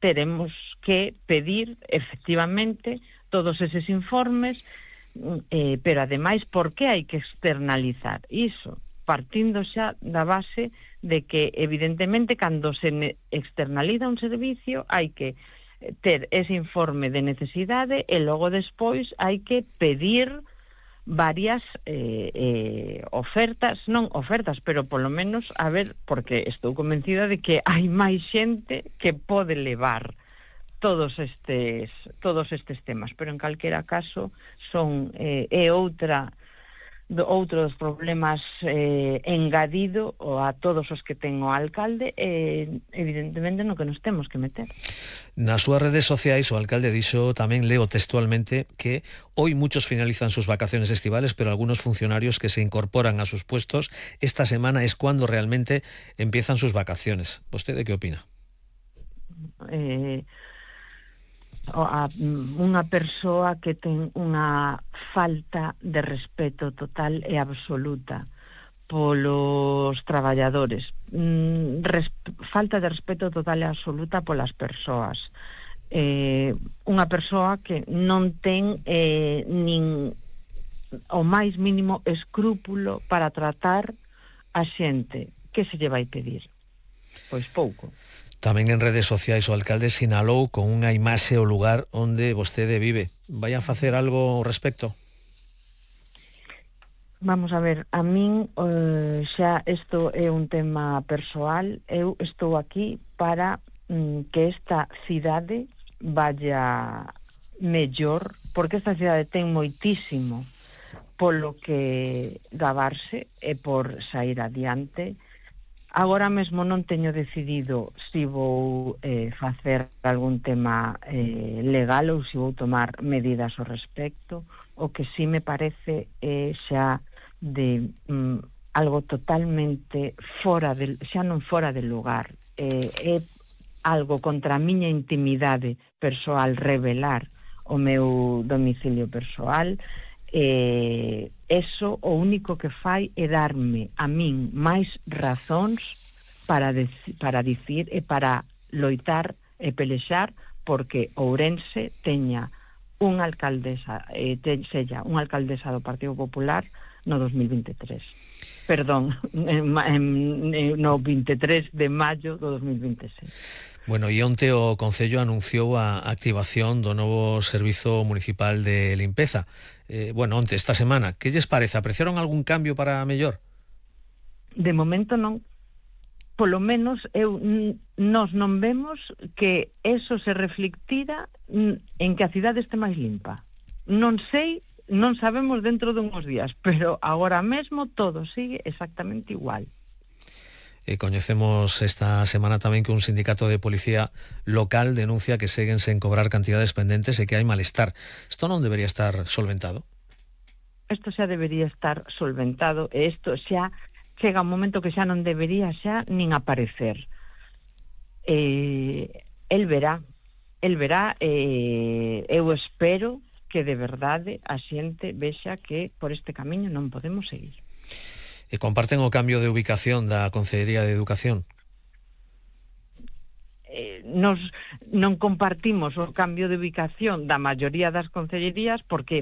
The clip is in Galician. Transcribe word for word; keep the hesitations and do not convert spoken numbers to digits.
teremos que pedir, efectivamente, todos eses informes, eh, pero ademais, por que hai que externalizar iso? Partindo xa da base de que, evidentemente, cando se externaliza un servicio, hai que ter ese informe de necesidade e logo despois hai que pedir varias eh, eh, ofertas, non ofertas, pero polo menos, a ver, porque estou convencida de que hai máis xente que pode levar todos estes todos estes temas, pero en calquera caso son eh, é outra do, outro dos problemas eh, engadido a todos os que ten o alcalde, e eh, evidentemente no que nos temos que meter. Nas súas redes sociais o alcalde dixo, tamén leo textualmente, que hoy muchos finalizan sus vacaciones estivales, pero algunos funcionarios que se incorporan a sus puestos esta semana es cuando realmente empiezan sus vacaciones. ¿Vostede qué opina? Eh, a, unha persoa que ten unha falta de respeto total e absoluta polos traballadores, mm, res, falta de respeto total e absoluta polas persoas, eh, unha persoa que non ten eh, nin o máis mínimo escrúpulo para tratar a xente. Que se lle vai pedir? Pois pouco. Tamén en redes sociais o alcalde sinalou con unha imaxe o lugar onde vostede vive. Vai a facer algo ao respecto? Vamos a ver, a min eh, xa isto é un tema persoal. Eu estou aquí para mm, que esta cidade vaya mellor, porque esta cidade ten moitísimo polo que gabarse e por sair adiante. Agora mesmo non teño decidido se vou eh, facer algún tema eh, legal ou se vou tomar medidas ao respecto. O que sí me parece é xa de mm, algo totalmente fora de, xa non fora de lugar, eh, é algo contra a miña intimidade persoal revelar o meu domicilio persoal. Eh, eso o único que fai é darme a min máis razóns para, dec- para dicir e para loitar e pelexar porque Ourense teña unha alcaldesa, eh, te, sella unha alcaldesa do Partido Popular no dos mil veintitrés. Perdón, en, en, no veintitrés de maio do dos mil veintiséis. Bueno, e onte o Concello anunciou a activación do novo Servizo Municipal de Limpeza. Eh, bueno, onte, esta semana. Que lles parece? Apreciaron algún cambio para mellor? De momento non. Polo menos eu nós non vemos que eso se reflectira en que a cidade este máis limpa. Non sei, non sabemos dentro de uns días, pero agora mesmo todo sigue exactamente igual. E coñecemos esta semana tamén que un sindicato de policía local denuncia que seguen sen cobrar cantidades pendentes e que hai malestar. Isto non debería estar solventado? Isto xa debería estar solventado e isto xa chega un momento que xa non debería xa nin aparecer. Eh, el verá, el verá, eh, eu espero que de verdade a xente vexa que por este camiño non podemos seguir. E comparten o cambio de ubicación da Consellería de Educación? Eh, nos non compartimos o cambio de ubicación da maioría das concellerías porque